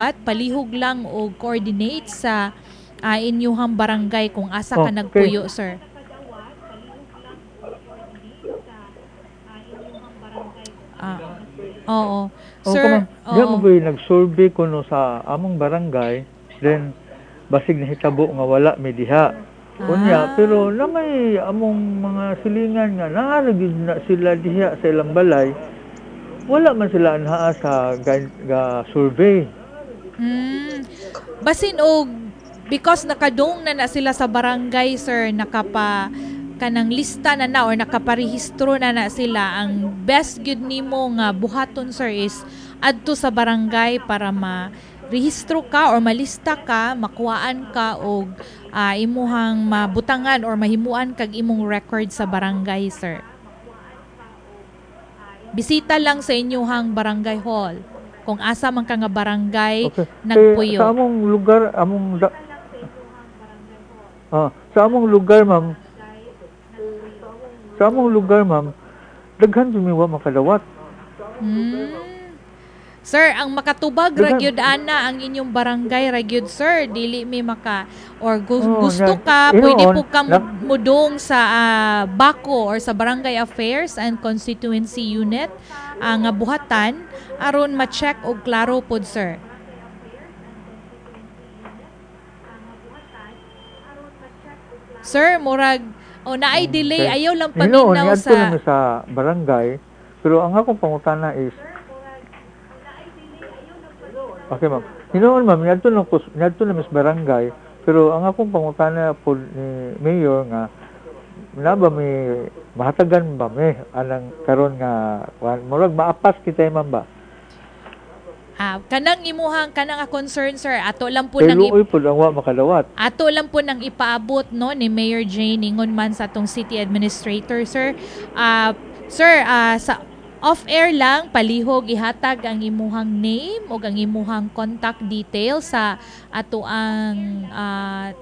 Palihog lang og coordinate sa inyuhang barangay kung asa ka nagpuyo, sir. Oo. Oo, Sir, ma'am. Diya oo. Mo gyud nag-survey kuno sa among barangay, then basig nahitabo nga wala mi diha. Unya, pero na may among mga silingan nga naa ra gyud na sila diha sa ilang balay. Wala man sila anhaa sa ga survey. Basin og because nakadung na na sila sa barangay, sir, nakapa kanang lista na na or nakaparehistro na na sila, ang best gyud nimo nga buhaton, sir, is adto sa barangay para ma rehistro ka or malista ka, makuhaan ka og imuhang mabutangan or mahimuan kag imong record sa barangay, sir. Bisita lang sa inyuhang barangay hall kung asa man ka nga barangay nagpuyo. Kay sa among lugar, ma'am, sa among lugar, ma'am, daghan jud mi wa makadawat. Sir, ang makatubag ra Daghan. Gyud ana ang inyong barangay ra gyud, sir, dili mi maka or gusto ka, inoon, pwede po ka mudong sa BACO or sa Barangay Affairs and Constituency Unit nga buhatan aron ma-check og klaro pod, sir. Sir, murag o naay delay, ayaw lang Hinoon, paminaw niadto sa na mi sa barangay, pero ang akong pangutana is, okay, ma'am. Hinoon, ma'am, niadto na mi sa barangay, pero ang akong pangutana po ni Mayor nga na ba mi mahatagan ba mi anang karon nga murag maapas kita, ma'am, ba? Kanang imuhang kanang concern, sir, ato lang po Kay nang luoy po ang wa makadawat. Ato lang po nang ipaabot, no, ni Mayor Jane ingon man sa atong city administrator, sir. Sir, sa off-air lang palihog ihatag ang imuhang name o ang imuhang contact details sa ato ang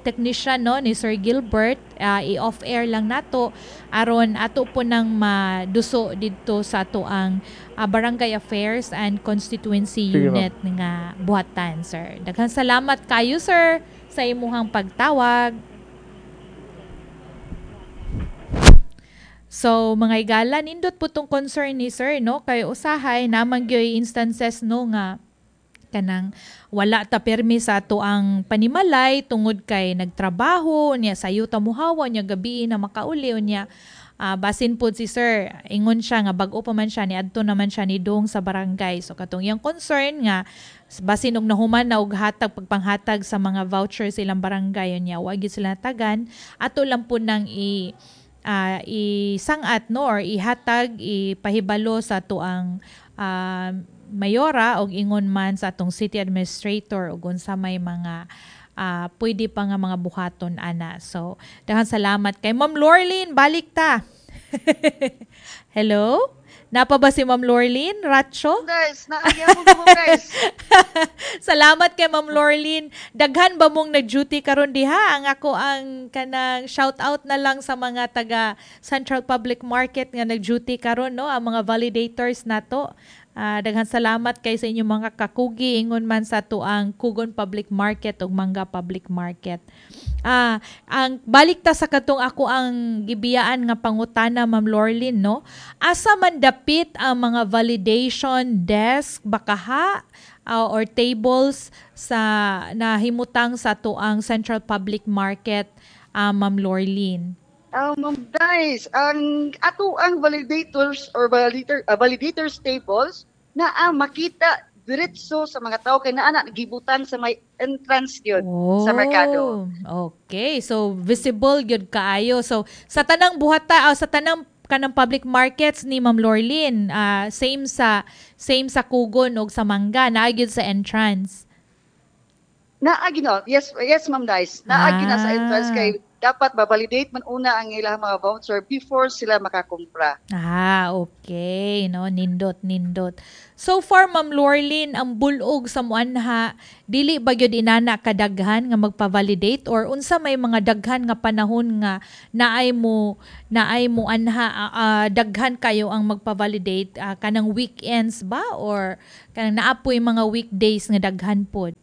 technician, no, ni Sir Gilbert. I-off-air lang nato aron ato po nang maduso didto sa ato ang Barangay Affairs and Constituency Sige, ma'am. Unit nga buhatan, sir. Daghang salamat kayo, sir, sa imuhang pagtawag. So, mga igala, nindot po tong concern ni sir, no? Kay usahay, naman gyoy instances, no, nga kanang wala ta permi sa ato ang panimalay tungod kay nagtrabaho niya, sayo ta muhawa niya, gabi na makauli niya. Basin pod si sir, ingon siya nga bag-o pa man siya, niadto naman siya ni dong sa barangay. So katong iyang concern nga basin og nahuman na og hatag pagpanghatag sa mga vouchers ilang barangay niya, wa gyud sila natagan. Ato lang po nang isangat, no, or ihatag, ipahibalo sa tuang mayora og ingon man sa atong city administrator og unsa may mga pwede pa nga mga buhaton ana. So daghang salamat kay Ma'am Lorlene, balik ta. Hello? Napa ba si Ma'am Lorlene Racho? Guys, naagya mo guys. Salamat kay Ma'am Lorlene. Daghan ba mong nag-duty karon diha? Ang ako ang kanang shout out na lang sa mga taga Central Public Market nga nag-duty karon, no, ang mga validators nato. Daghan salamat kay sa inyong mga kakugi ingon man sa tuang Kugon Public Market ug Mangga Public Market. Ang balik ta sa katong ako ang gibiyaan nga pangutana, Ma'am Lorlene, no? Asa man dapit ang mga validation desk bakaha or tables sa nahimutang sa tuang Central Public Market, Ma'am Lorlene? Ma'am Dice, ang ato ang validators or validators tables na ang makita diretso sa mga tao kay naa na gibutan sa may entrance gyud sa merkado. Okay, so visible gyud kaayo. So sa tanang buhata sa tanang kanang public markets ni Ma'am Lorlene, same sa Kugon ug sa Mangga, naa gyud sa entrance. Naa gyud, no? Yes, yes, Ma'am Dice. Naa gyud na sa entrance kay Dapat ma-validate man una ang ilang mga voucher before sila makakumpra. Ah, okay, no, nindot, nindot. So far, Ma'am Lorlyn, ang bulog sa muanha, dili ba gyud inana kadaghan nga magpa-validate or unsa may mga daghan nga panahon nga naay mo anha daghan kayo ang magpa-validate, kanang weekends ba or kanang naapoy mga weekdays nga daghan pod?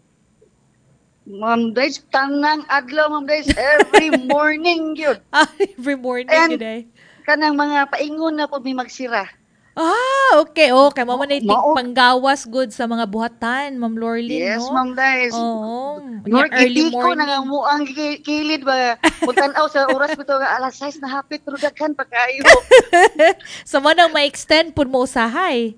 Ma'am Days, tanang adlaw, Ma'am Days, every morning yun. Ah, every morning And gyud ay. Kanang mga paingon na po may magsira. Ah, okay. Mao man Mao panggawas good sa mga buhatan, Ma'am Lorlyn, Yes, no? Ma'am Days. Oo. Nor early itiko na morning. Nga mo ang kilid ba. Kung tan-aw sa oras bitaw nga alas 6 na hapit pero daghan pa kaayo. So mo nang ma-extend pud mo usahay.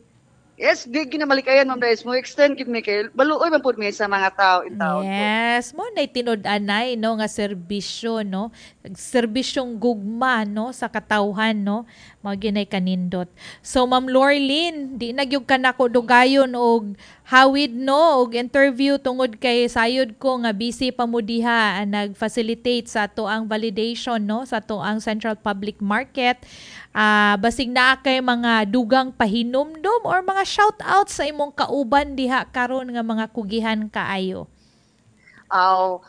Yes, di ginamalikayan, Ma'am Days. Mo extend gid mi kay baluoy man pud mi sa mga tao in town po. Yes, mo na tinud-anay, no, nga serbisyo, no. Serbisyong gugma, no, sa katawhan, no. Mao ginay kanindot. So Ma'am Lorlyn, di na gyud ka nako dugayon og hawid, no, og interview tungod kay sayod ko nga busy pa mo diha nag-facilitate sa ato ang validation, no, sa ato ang Central Public Market. Basig naa kay mga dugang pahinumdom or mga shout out sa imong kauban diha karon nga mga kugihan kaayo. Aw,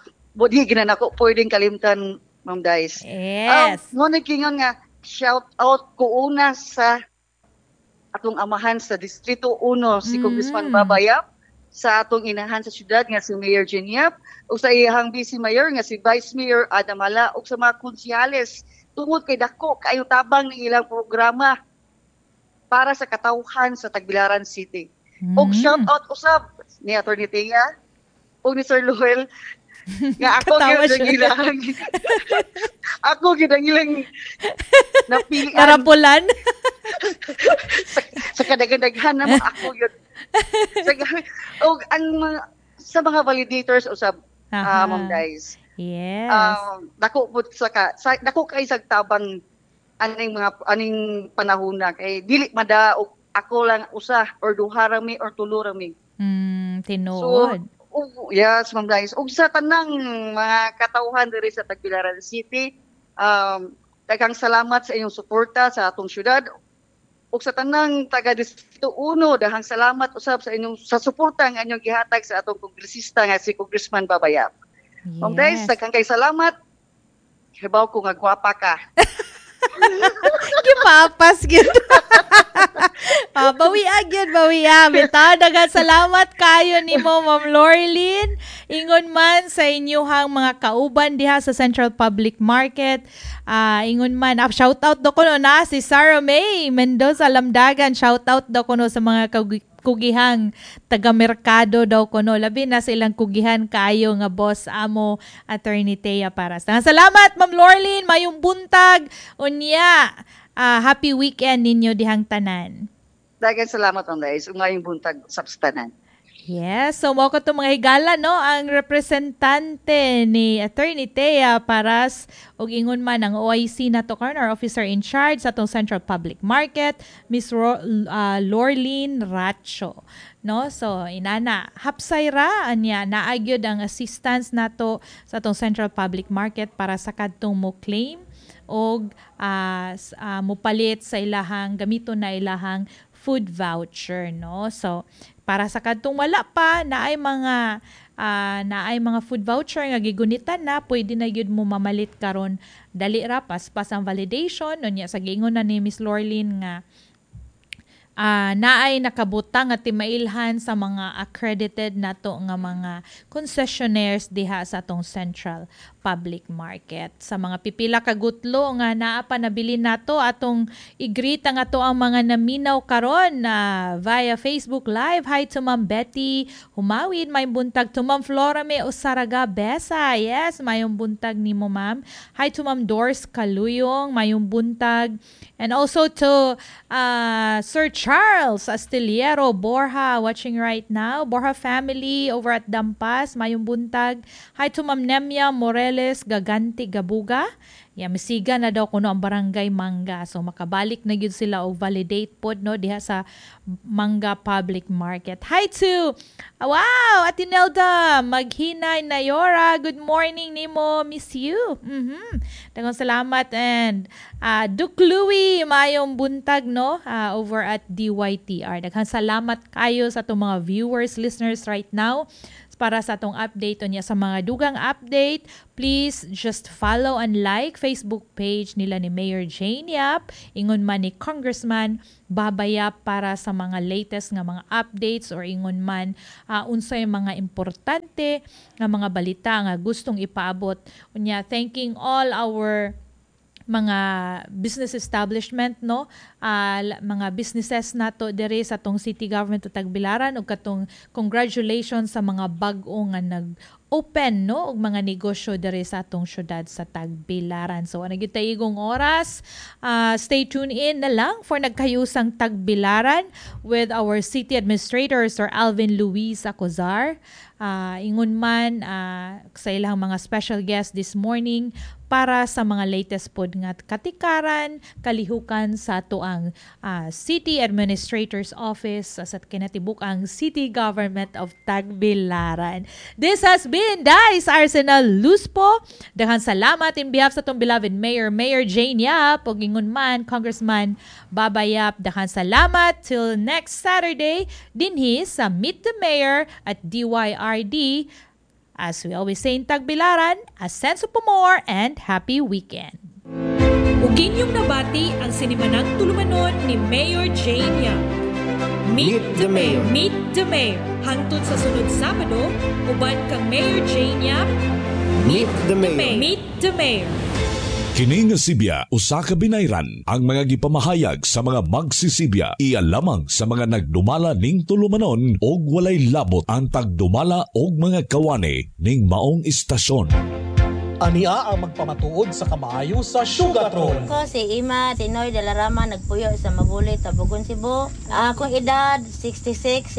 di gina nako pwedeng kalimtan, Ma'am Days. Yes. Mo nagkingon nga shout out ko una sa atong amahan sa Distrito 1, si Congressman Baba Yap, sa atong inahan sa syudad nga si Mayor Jean Yap, ug sa iyahang Vice Mayor nga si Vice Mayor Adam Hala, ug sa mga konsehales tungod kay dako kaayo tabang ng ilang programa para sa katawhan sa Tagbilaran City. Og shout out usab ni Attorney Tia ug ni Sir Luel nga ako Katawa gyud ang siya. ilang ako gyud ang ilang napilian Narapulan. sa kadaghan-daghan na mo ako yun. Sa, og ang mga, sa mga validators usab, Ma'am Guys. Dako pud sa dako kay sa tabang aning mga aning panahon na kay dili mada og ako lang usa or duha ra mi or tulo ra mi. Tinuod. So, ug, yes, Ma'am Guys. Ug sa tanang mga katawhan diri sa Tagbilaran City, daghang salamat sa inyong suporta sa atong syudad. Ug sa tanang taga Distrito 1, daghang salamat usab sa inyong sa suporta nga inyong gihatag sa atong kongresista nga si Congressman Baba Yap. Ma'am Guys, daghang kay salamat. Hibaw ko nga gwapa ka. Gipapas gyud. Bawi gyud, bawi. Bitaw, daghang salamat kayo nimo, Ma'am Lorlyn. Ingon man sa inyuhang mga kauban diha sa Central Public Market. Ingon man, shout out do kuno na si Sarah May Mendoza Lamdagan. Shout out do kuno sa mga kugihang taga-merkado daw kuno. Labi na sa ilang kugihan kaayo nga boss amo Attorney Thea Paras. Salamat, Ma'am Lorlyn, mayong buntag. Unya, happy weekend ninyo dihang tanan. Daghang salamat, Ma'am Dais. Mayong buntag sa tanan. Yes, so mao ko mga higala, no, ang representante ni Attorney Thea Paras ug ingon man ang OIC nato karon, our officer in charge sa atong Central Public Market, Miss Lorlyn Racho, no? So inana, hapsay ra anya naagyod ang assistance nato sa atong Central Public Market para sa kadtong mo claim og mopalit sa ilahang gamiton na ilahang food voucher, no? So para sa kadtong wala pa naay mga food voucher nga gigunitan na, pwede na gyud mo mamalit karon, dali ra, paspas ang validation unya sa giingon na ni Miss Lorlyn nga naay nakabutang nga timailhan sa mga accredited nato nga mga concessionaires diha sa atong Central Public Market. Sa mga pipila ka gutlo nga naa pa nabili nato, atong i-greet ang ato ang mga naminaw karon na via Facebook Live. Hi to Ma'am Betty Humawid, may buntag to Ma'am Flora May Osaraga Besa. Yes, mayong buntag nimo, ma'am. Hi to Ma'am Doris Kaluyong, mayong buntag. And also to Sir Charles Astillero Borja watching right now. Borja family over at Dampas, mayong buntag. Hi to Ma'am Nemia Moreles Gaganti Gabuga. Yeah, misiga na daw kuno ang Barangay Manga. So makabalik na gyud sila og validate pod, no, diha sa Manga Public Market. Hi to, wow, Ate Nelda, Maghinay Nayora. Good morning nimo. Miss you. Daghang salamat and Duke Louie, maayong buntag, no, over at DYTR. Daghang salamat kayo sa atong mga viewers, listeners right now para sa atong update. Unya sa mga dugang update, please just follow and like Facebook page nila ni Mayor Jane Yap, ingon man ni Congressman Baba Yap para sa mga latest nga mga updates or ingon man unsay mga importante nga mga balita nga gustong ipaabot. Unya thanking all our mga business establishment, no, mga businesses nato diri sa atong city government of Tagbilaran ug katong congratulations sa mga bag-o nga nag open, no, og mga negosyo diri sa atong syudad sa Tagbilaran. So ana gyud igong oras. Stay tuned in na lang for Nagkayusang Tagbilaran with our city administrator, Sir Alvin Luis Acozar. Ingon man sa ilang mga special guest this morning para sa mga latest pod nga katikaran, kalihukan sa atoang City Administrator's Office sa kinatibuk ang City Government of Tagbilaran. This has been Dice Arsenal Luspo. Daghang salamat in behalf sa atong beloved Mayor, Mayor Jane Yap, ug ingon man Congressman Baba Yap. Daghang salamat till next Saturday dinhi sa Meet the Mayor at DYRD. As we always say in Tagbilaran, asenso po more and happy weekend. Ug inyong nabati ang sinimanang tulumanon ni Mayor Jane Yap. Meet the Mayor. Meet the Mayor. Hangtod sa sunod Sabado, uban kang Mayor Jane Yap. Meet the Mayor. Meet the Mayor. Kini nga sibya usa ka binayran. Ang mga gipamahayag sa mga magsisibya iya lamang sa mga nagdumala ning tulumanon og walay labot ang tagdumala og mga kawani ning maong istasyon. Ania ang magpamatuod sa kamaayo sa Sugatron. Ko si Ima Tinoy de la Rama, nagpuyo sa Mabuli, Tabogon, Cebu. Akong edad 66.